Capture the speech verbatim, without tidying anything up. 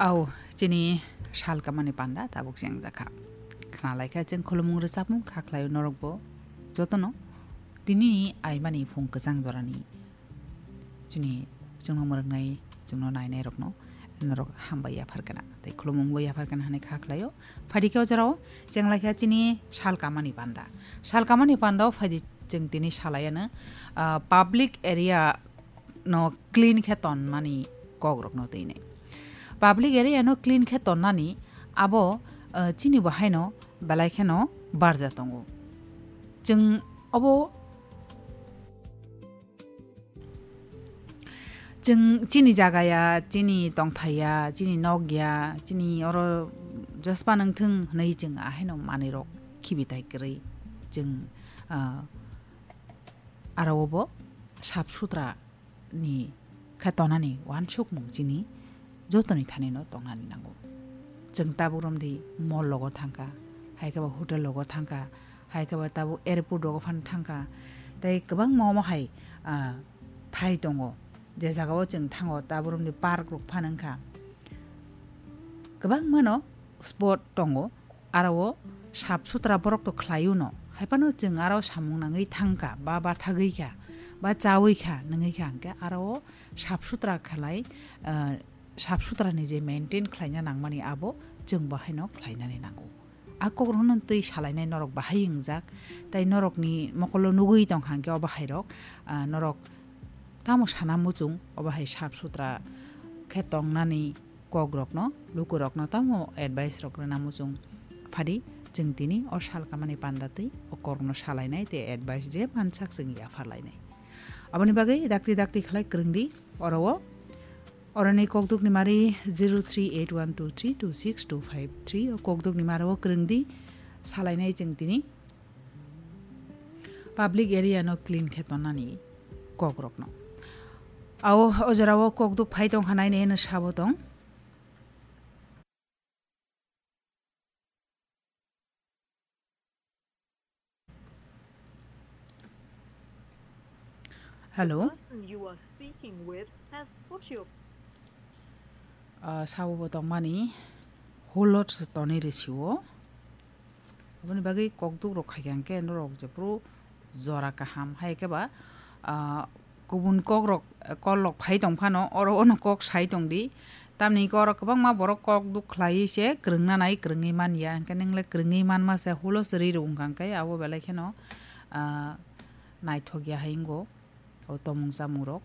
Au, chini sal kamani panda tabuk chengjakha. Khna laikha cheng khulumung rwchapmung kha khlaio norokbo jotono. Tini aimani phung kwchang jorani chini chwngno mwrwknai, chwngno nainairokno norok hambai yaphar kana. Tei khulumungbo yaphar kana hwnwi kha khlaio. Phaidi khe o jorao cheng laikha chini sal kamani panda. Sal kamani panda o phaidi cheng tini salaiano, ah, public area no clean khe tonmani kokrokno twinai. Public area no clean khe tonnani abo, ah, chini bo haino belai kheno barja tongo. Chwng obo, chwng chini jaga ya, chini tongthai ya, chini nok ya, chini oro jaspa nangthwng hwnwi chwng ahaino manwirok khibitai kwrwi chwng, ah, aro obo sap sutra ni khe tonani uansukmung chini jotoni thanino tongnani nango. Chwng tabuk romdi mall logo thangkha, hai khe ba hotel logo thangkha, hai khe ba tabuk airport rogo phano thangkha, tei kwbangma omo hai, ah, thai tongo, je jagao chwng thango tabuk romdi park rok phano wngkha. Kwbangmano spot tongo, aro o sap sutra borok to khlaio no. Hai phano chwng aro samung nangwi thangkha, ba bathagwi kha, ba chawi kha, nangwi kha hwnkhe aro o sap sutra khlai, ah, sap sutra ni je maintain khlaina nangmani abo chwng bo haino khlainani nango. A kok rokno twi salainai norok bahai wngjak, tei norokni mokolo nugwi tongkha hwnkhe o bahai rok, ah, norok tamo sana muchung o bahai sap sutra khe tongnani kokrokno, lukurokno tamo advice rok rwna muchung phadi, chwng tini o sal kamani panda twi o kokno salainai tei advice je mansak chwng yapharlainai. Aboni bagwi dakti dakti khlai kwrwngdi oro o, oroni kokdukni mari zero three eight one two three two six two five three o kokdukni mari o kwrwngdi salainai chwng tini public area no clean khe tonnani kokrokno. Ao o jorao kokduk phai tongkha nainai hwnwi sabo tong. Hello. The person you are speaking with has put your Ah, sabo bo tongmani holot se tonwi rwsio. Aboni bagwi kokduk rok khaikha hwnkhe norok jephuru jora kaham hai khe ba, ah, kubun kok rok, kol rok phai tong phano oro ono kok sai tong di. Tamni hwnkhe oro kwbangma borok kokduk khlaiwi se kwrwngna nai kwrwngwi man ya. Hwnkhe nwng le kwrwngwi manma se hulo se ri rw wngkha hwnkhe abo belai kheno, ah, naithok ya hai wngo o tomung chamung rok.